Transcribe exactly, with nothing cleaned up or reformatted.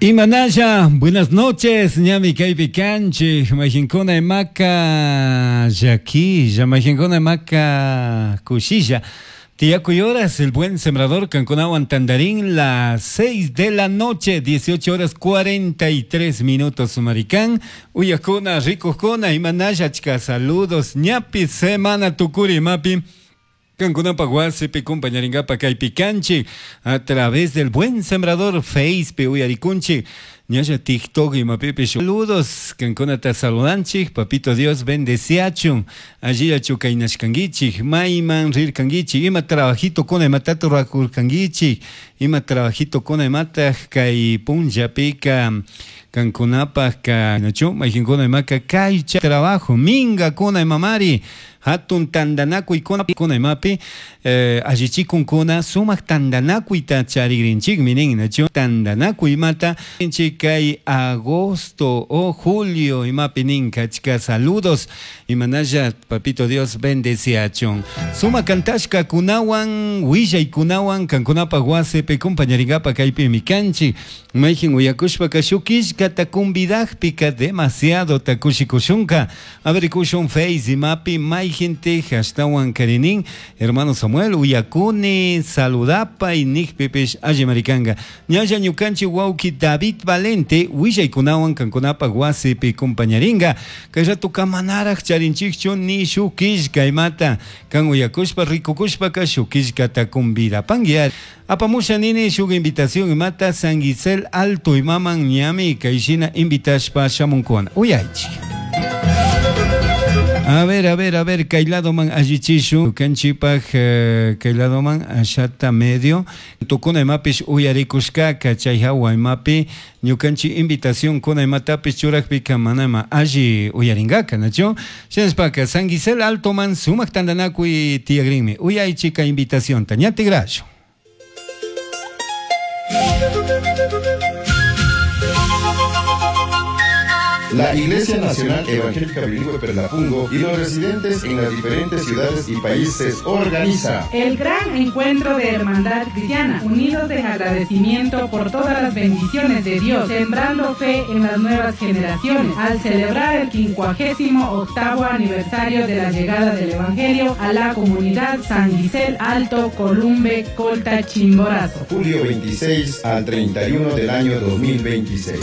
Imanalla, buenas noches, ñami kaypi kanchik, mayqinkuna imaka llakilla, mayqinkuna imaka kushilla. Tiyakuy horas, el buen sembrador kankunawan tandarín, las seis de la noche, dieciocho horas cuarenta y tres minutos, maricán. Uyakuna, rikukuna, imanalla, chika, saludos, ñapi semana tukuri mapi. Kankunapa wasipi compañaringapa kaypi kanchik a través del buen sembrador Face uyarikunchik ñalla TikTok imapipish saludos kankunata saludanchik papito Dios bendeciachun allillachu kaynashkankichik mayman rirkankichik ima trabajito kuna imatata rurakurkankichik ima trabajito kuna imataq kay punllapika kankunapaq nachu mayqinkuna imaka kaycha trabajo minkakuna imamari hatun tandanakuy kuna kuna imapi eh, allichikunkuna sumaq tandanakuyta charigrinchikmi nin nachu tandanakuy imata kay agosto o julio imapi nin kachka saludos imanalla papito Dios bendeciachun suma kantashka kunawan willaykunawan kankunapaq wasipi compañaringapa kaypimi kanchik mayqin uyakushpaka shuk killkata convidajpika demasiado takushikushunka a ver kushun face imapi mayqintik ashtawan karinin hermano Samuel uyakuni saludapay nikpipish alli marikanga ñalla ñukanchik wawki David Valente willaykunawan kankunapaq wasipi compañaringa kay ratuka manaraq charinchikchu ni shuk killka imata kan uyakushpa rikukushpaka shuk killkata convidapanki apamusha nini shuk invitación imata San Gisel Alto imaman ñami kayshina invitashpa shamunkuna uyaychik. A ver, a ver, a ver, kay ladoman allichishu, kanchipaj eh, kay ladoman ashata medio, tukuna imapish uyarikushkaka, chay hawa imapi, ñukanchi invitación kuna imatapish churakpika manama alli uyaringaka, nachu? Shinashpaka, San Gisel Altoman sumaq tandanakuy tiyagrinmi, uyaychika invitacionta, ñatigrashu. La Iglesia Nacional Evangélica Bilingüe Perlapungo y los residentes en las diferentes ciudades y países organiza el gran encuentro de Hermandad Cristiana, unidos en agradecimiento por todas las bendiciones de Dios, sembrando fe en las nuevas generaciones, al celebrar el quincuagésimo octavo aniversario de la llegada del Evangelio a la comunidad San Gisel Alto, Columbe, Colta, Chimborazo. Julio veintiséis al treinta y uno del año dos mil veintiséis.